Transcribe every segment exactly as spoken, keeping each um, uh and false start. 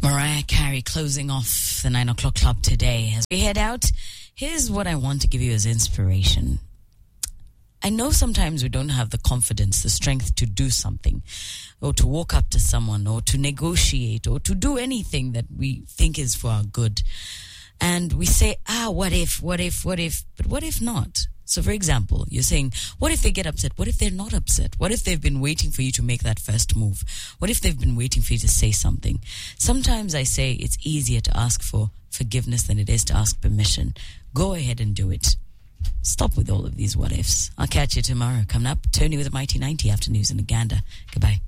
Mariah Carey closing off the nine o'clock club today. As we head out, here's what I want to give you as inspiration. I know sometimes we don't have the confidence, the strength to do something, or to walk up to someone, or to negotiate, or to do anything that we think is for our good. And we say, ah, what if, what if, what if, but what if not? So, for example, you're saying, what if they get upset? What if they're not upset? What if they've been waiting for you to make that first move? What if they've been waiting for you to say something? Sometimes I say it's easier to ask for forgiveness than it is to ask permission. Go ahead and do it. Stop with all of these what ifs. I'll catch you tomorrow. Coming up, Tony with the Mighty ninety after news in Uganda. Goodbye.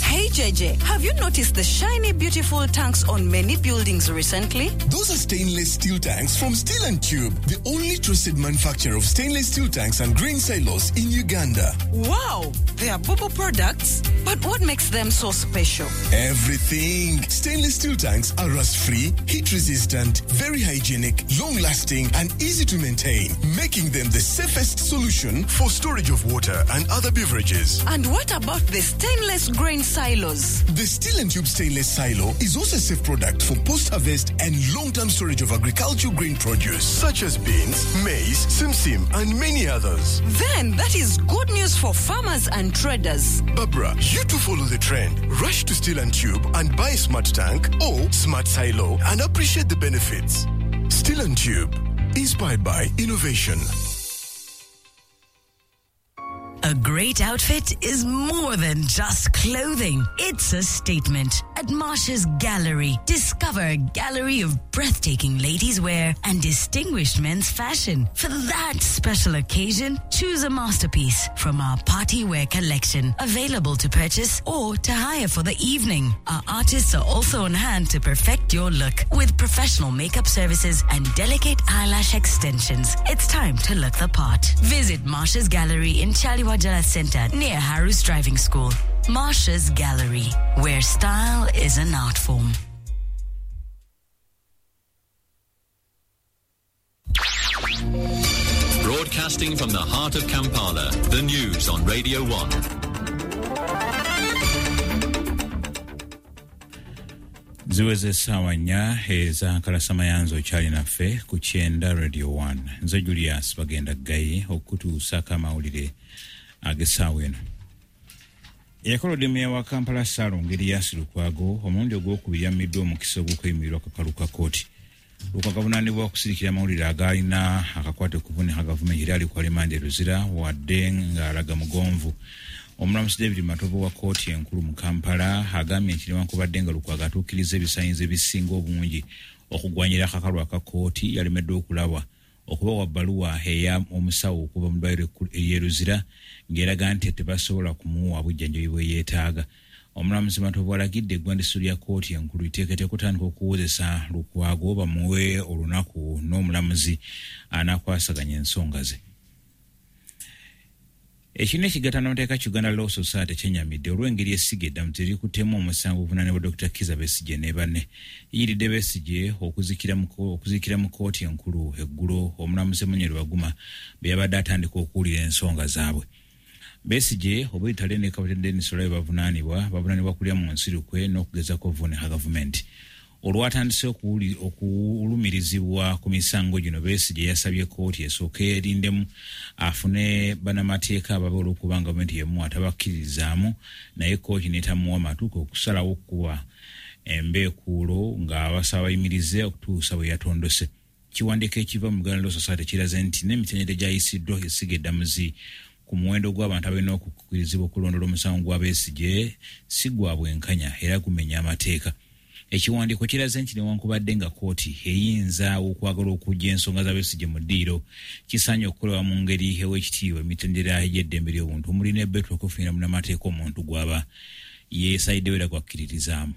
Hey J J, have you noticed the shiny, beautiful tanks on many buildings recently? Those are stainless steel tanks from Steel and Tube, the only trusted manufacturer of stainless steel tanks and grain silos in Uganda. Wow, they are Bobo products. But what makes them so special? Everything. Stainless steel tanks are rust-free, heat-resistant, very hygienic, long-lasting, and easy to maintain, making them the safest solution for storage of water and other beverages. And what about the stainless grain silos? Silos. The Steel and Tube stainless silo is also a safe product for post-harvest and long-term storage of agricultural grain produce such as beans, maize, simsim, and many others. Then that is good news for farmers and traders. Barbara, you too follow the trend. Rush to Steel and Tube and buy a smart tank or smart silo and appreciate the benefits. Steel and Tube, inspired by innovation. A great outfit is more than just clothing. It's a statement. At Marsha's Gallery, discover a gallery of breathtaking ladies' wear and distinguished men's fashion. For that special occasion, choose a masterpiece from our party wear collection, available to purchase or to hire for the evening. Our artists are also on hand to perfect your look with professional makeup services and delicate eyelash extensions. It's time to look the part. Visit Marsha's Gallery in Chaliwa Jala Center near Haru's Driving School. Marsha's Gallery, where style is an art form. Broadcasting from the heart of Kampala, the news on Radio one. Ziweze essaawa nnya ez'akalasamayanzi okyali naffe ku kyenda Radio one. Nze Julius Bagenda Ggayi okutuusaako amawulire ag'essaawa eno. Eyakolodde meeya wa Kampala Ssaalongo Erias Lukwago omulundi ogwokubiri yammiddwa omukisa ogw'okweyimirirwa akakalu ka kkooti. Lukwago avunaanibwa okusirikira amawulire agaalina akakwate ku kuvunika gavumenti era ali ku alimanda e Luzira wadde ng'alaga mugonvu. Omulamuzi David Matovu wa kkooti enkulu mu Kampala agambye nti newankubadde nga Lukwago atuukiriza ebisaanyizo ebisinga obungi okugwanyira akakalu aka kkooti yalemeddwa okulabwa okubawa bbaluwa eya omusawo okuva mu ddwaliro ery'e Luzira ng'eraga nti tebasobola kumuwa bujjanjabi bwe yeetaaga. Omulamuzi Matovu alagidde eggwandiiso lya kkooti enkulu liteeketeeke okutandika okuwozesa Lukwago bamuwe olunaku n'omulamuzi anaakwasaganya ensonga ze. Ekibiina ekigatta n'amateeka ki Uganda Law Society kyennyamidde olw'engeri essiga eddamuzi erikuttemu omusango oguvunaanibwa Dokita Kizza Besigye ne banne. Liyiridde Besigye okuzikira mu okuzikira mu kkooti enkulu eggulo omulamuzi Emmanuel Baguma bwe yabadde atandika okuwulira ensonga zaabwe. Besigye Obwitale ne Kapiteeni Denis Olayo bavunaanibwa bavunaanibwa kulya mu nsi lukwe n'okugezaako okuvuunika gavumenti. Olwatandise okulumirizibwa ku misango gino Besigye yasabye kkooti esooke erindemu afune bannamateeka ababe olw'okuba gavumenti y'emu atabakkiririzaamu naye kkooti n'etamuwa matuuka okusalawo okuwa embeekuulo ng'abasaba bayimirize okutuusa bwe yatondose. Kiwandiiko ekiva mu Uganda Law Society kiraze nti n'emitendera egyayisiddwa essiga eddamuzi ku muwendo gw'abantu abalina okukkirizibwa okulondoola omusango gwa Besigye si gwa bwenkanya era gumenya amateeka. Ekiwandiiko kiraze nti newankubadde nga kkooti eyinza okwagala okuggya ensonga za Besigye mu ddiiro kisaanye okukolebwa mu ngeri ew'ekitiibwa emitendera egy'eddembe ly'obuntu omuli n'ebbeetu okufunira munnamateeka omuntu gw'aba yeesayiddewo era gwakkiririzaamu.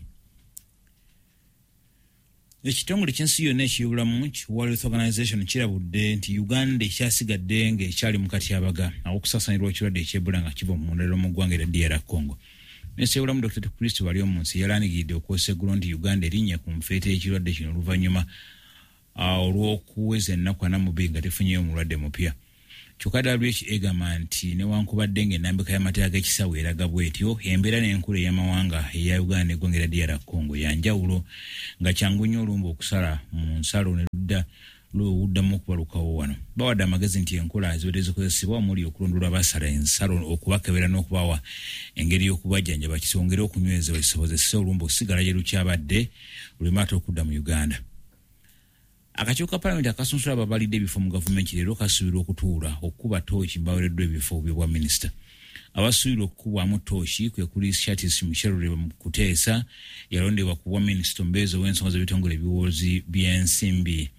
Ekitongole ky'ensi yonna eky'obulamu ki World Health Organization kirabudde nti Uganda ekyasigadde ng'ekyali mu katyabaga aw'okusaasaanirwa ekirwadde eky'Ebola nga kiva mu ndala mu ggwanga erya D R Congo. Minisita w'obulamu Dokita Kristo Baryomunsi yalangiridde okwosa eggulo nti Uganda erinnya ku nfeete y'ekirwadde kino oluvannyuma olw'okuweza ennaku ana mu bbiri nga tefunyeeyo mulwadde mupya. Kyokka W H O egamba nti newankubadde ng'ennambika y'amateeka g'ekisawo eraga bw'etyo, embeera n'enkula ey'amawanga eya Uganda n'eggwanga erya D R Congo ya njawulo, nga kyangu nnyo olumbe okusala mu nsalo ne ludda luddamu okubalukawo wano. Bawadde amagezi nti enkola zibadde zikozesebwa omuli okulondoola abasala ensalo, okubakebera n'okubawa engeri y'okubajjanjaba kisongere okunywezebwa kisobozese olumbe okusigala gye lukyabadde luleme ate okudda mu Uganda. Akakiiko ka Palamenti akasunsula ababalidde ebifo mu gavumenti leero kasuubirwa okutuula okukuba ttooki mbaweereddwa ebifo by'obwa minisita. Abasuubirwa okukubwamu ttooki kwe kuli Shatis Michelle Kuteesa, yalondebwa ku bwa minisita omubeezi ow'ensonga z'ebitongole ebiwozi by'ensimbi.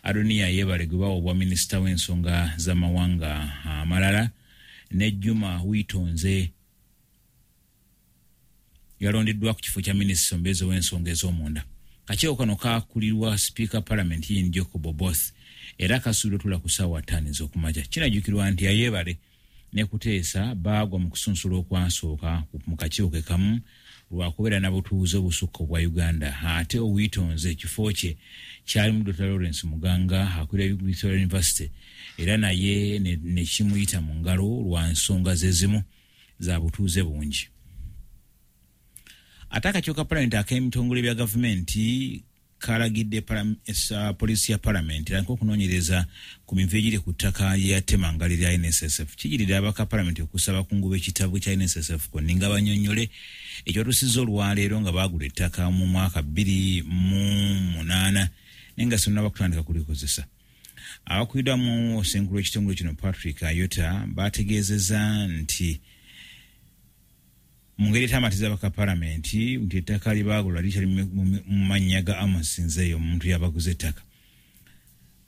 Adonia Yebale gwe bawa obwa minisita w'ensonga z'amawanga amalala, ne Juma Witonze yalondeddwa ku kifo kya minisita omubeezi ow'ensonga ez'omunda. Akakiiko kano kakulirwa Sipiika Palamenti Ian Jacob Oboth era kasuubirwa otuula ku ssaawa ttaano ez'okumakya. Kinajjukirwa nti Ayebale ne Kuteesa baagwa mu kusunsula okwasooka mu kakiiko ke kamu lwakubeera na butuuze obusukka obwa Uganda, ate Owitonze ekifo kye kyalimu Doctor Lawrence Muganga akulira Victoria University era naye ne kimuyita mu ngalo lwa nsonga ze zimu za butuuze bungi. Ate akakiiko ka Palamenti ak'ebitongole bya gavumenti kalagidde poliisi ya Palamenti erandike okunoonyereza ku mivuyo egiri ku ttaka ly'eyatemangalo erya N S S F. Kijiridde abaka Palamenti okusaba ku nguba ekitabo kya N S S F konna nga bannyonnyole ekyatuusizza olwaleero nga baagula ettaka mu mwaka bbiri mu munaana naye nga sinnaba kutandika kulikozesa. Abakuliddwamu ssenkulu w'ekitongole kino Patrick Ayota baategeezezza nti mu ngeri etamatiza abaka Palamenti nti ettaka lye baagula likyali mu mannya ga Amos Nzeyo, omuntu yabaguza ettaka.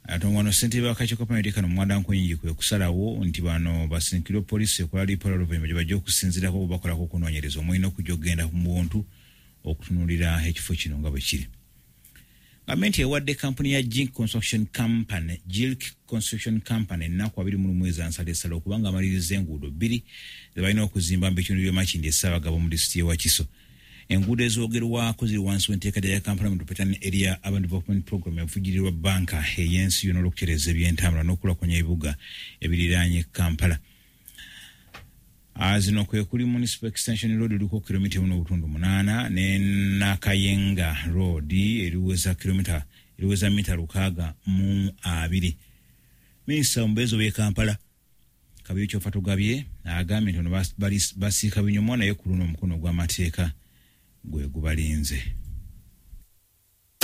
Ate wano ssentebe w'akakiiko ka Palamenti kano Mwada Nkunyingi kwe kusalawo nti bano basindikirwe poliisi ekola lipoota oluvannyuma gye bajja okusinziirako oba bakolako okunoonyereza omulina okujja okugenda mu buntu okutunuulira ekifo kino nga bwe kiri. Gavumenti ewadde kampuni ya Jilk Construction Company, Jilk Construction Company ennaku abiri mu lumu ezansalesale okubanga amaliriza enguudo bbiri ze balina okuzimba mu bitundu by'e Makindye e Ssaabagabo mu disitulikiti y'e Wakiso. Enguudo ezoogerwako ziri wansi w'enteekateeka ya Kampala Metropolitan Area Urban Development Program evugirirwa bbanka ey'ensi yonna olw'okutereeza ebyentambula n'okulaakulanya ebibuga ebiriraanye Kampala. Zino kwe kuli Municipal Extension Road eriko kilomita emu n'obutundu munaana ne Nakayenga Road eriweza kilomita eriweza mita lukaaga mu abiri. Minisita omubeezi ow'e Kampala Kabuye Kyofatogabye agambye nti ono basiika binyomo naye ku luno omukono gw'amateeka gwe gubalinze.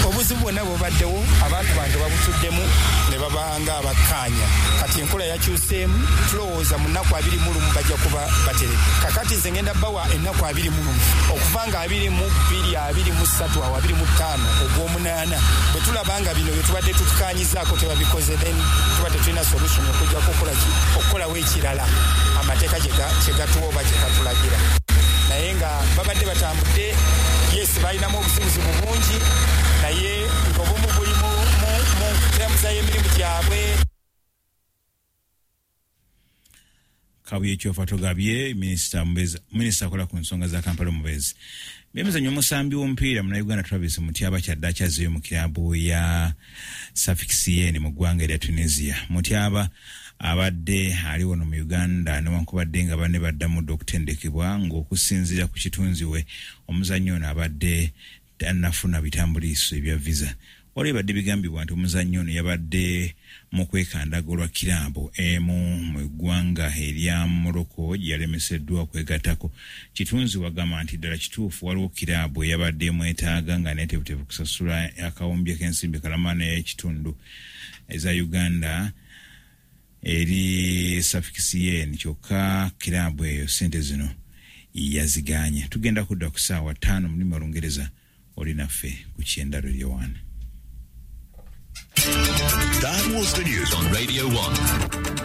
Obuzibu bwonna bubaddewo, abantu bange babutuddemu ne babanga abakkaanya. Kati enkola yakyuseemu, tulowooza mu nnaku abiri mu lumu bajja kuba bateredde. Kakati nze ngenda bawa ennaku abiri mu lumu, okuva nga abiri mu bbiri, abiri mu ssatu, awo abiri mu ttaano, ogw'omunaana. Bwe tulaba nga bino bye tubadde tutukaanyizaako tebabikoze, then tuba tetulina solution okujjako okukola ki? Okukolawo ekirala amateeka kye gatuwa oba kye gatulagira. Naye nga babadde batambudde, yes, balinamu obuzibuzibu bungi, naye ng'obumu buli mu ntambuza y'emirimu gyabwe. Kabuye Kyofatogabye minisita minisita akola ku nsonga za Kampala omubeezi. Byemizannyo, omusambi w'omupiira munnayuganda Travis Mutyaba kyadde akyazeeyo mu kiraabu ya Sfaxien mu ggwanga erya Tunisia. Mutyaba abadde ali wano mu Uganda newankubadde nga banne baddamu dda okutendekebwa ng'okusinziira ku kitunzi we omuzannyo ono abadde tannafuna bitambuliiso ebya visa. Waliwo ebadde bigambibwa nti omuzannyo ono yabadde mu kwekandaga olwa kiraabu emu mu ggwanga erya Morocco gye yalemeseddwa okwegattako. Kitunzi wagamba nti ddala kituufu waliwo kiraabu eyabadde emwetaaga nga neeteefuteefu kusasula akawumbi k'ensimbi kalama n'ekitundu eza Uganda eri Sfaxien, kyokka kiraabu eyo ssente zino yaziganye. Tugenda kudda ku ssaawa ttaano mu lulimi Olungereza, oli naffe ku Kyenda Radio One. That was the news on Radio one.